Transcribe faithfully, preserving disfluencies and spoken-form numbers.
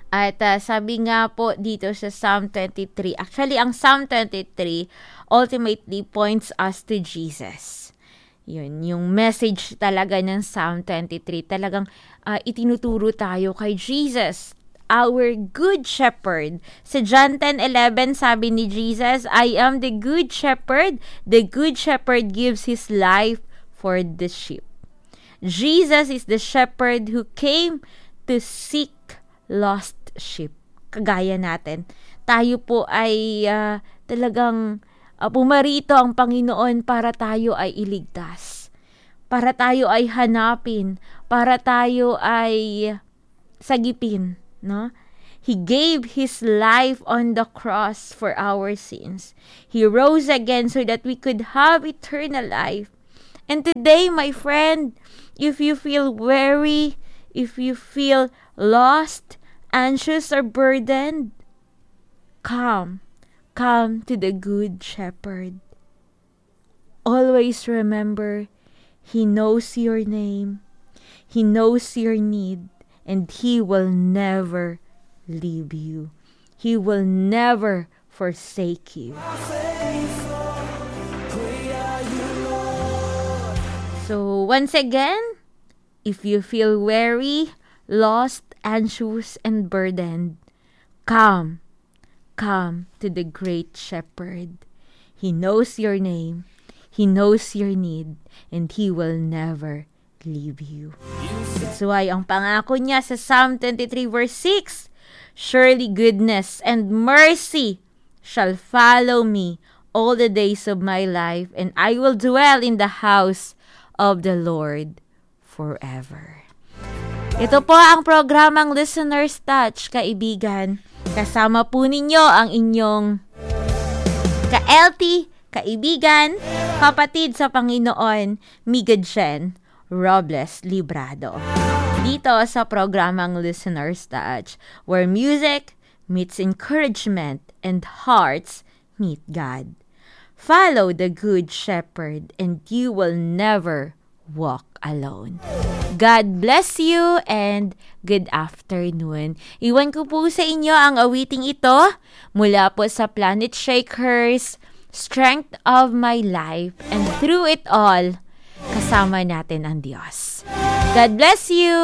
At, ah, sabi nga po dito sa Psalm twenty-three, actually, ang Psalm twenty-three ultimately points us to Jesus. Yun, yung message talaga ng Psalm twenty-three, talagang, ah, itinuturo tayo kay Jesus, our good shepherd. Sa John ten eleven, sabi ni Jesus, "I am the good shepherd. The good shepherd gives his life for the sheep." Jesus is the shepherd who came to seek lost sheep. Kagaya natin, tayo po ay, ah, talagang, ah, pumarito ang Panginoon para tayo ay iligtas, para tayo ay hanapin, para tayo ay sagipin, no? He gave his life on the cross for our sins. He rose again so that we could have eternal life. And today, my friend, if you feel weary, if you feel lost, anxious, or burdened, come. Come to the Good Shepherd. Always remember, He knows your name, He knows your need, and He will never leave you. He will never forsake you. So, once again, if you feel weary, lost, anxious, and burdened, come. Come to the Great Shepherd. He knows your name. He knows your need. And He will never leave you. That's why ang pangako niya sa Psalm twenty-three verse six, "Surely goodness and mercy shall follow me all the days of my life, and I will dwell in the house of the Lord forever." Ito po ang programang Listener's Touch, kaibigan. Kasama po ninyo ang inyong ka-L T, kaibigan, kapatid sa Panginoon, Miga Jen Robles Librado. Dito sa programang Listener's Touch, where music meets encouragement and hearts meet God. Follow the Good Shepherd and you will never walk alone. God bless you and good afternoon. Iwan ko po sa inyo ang awiting ito mula po sa Planet Shakers, "Strength of My Life," and through it all, kasama natin ang Diyos. God bless you!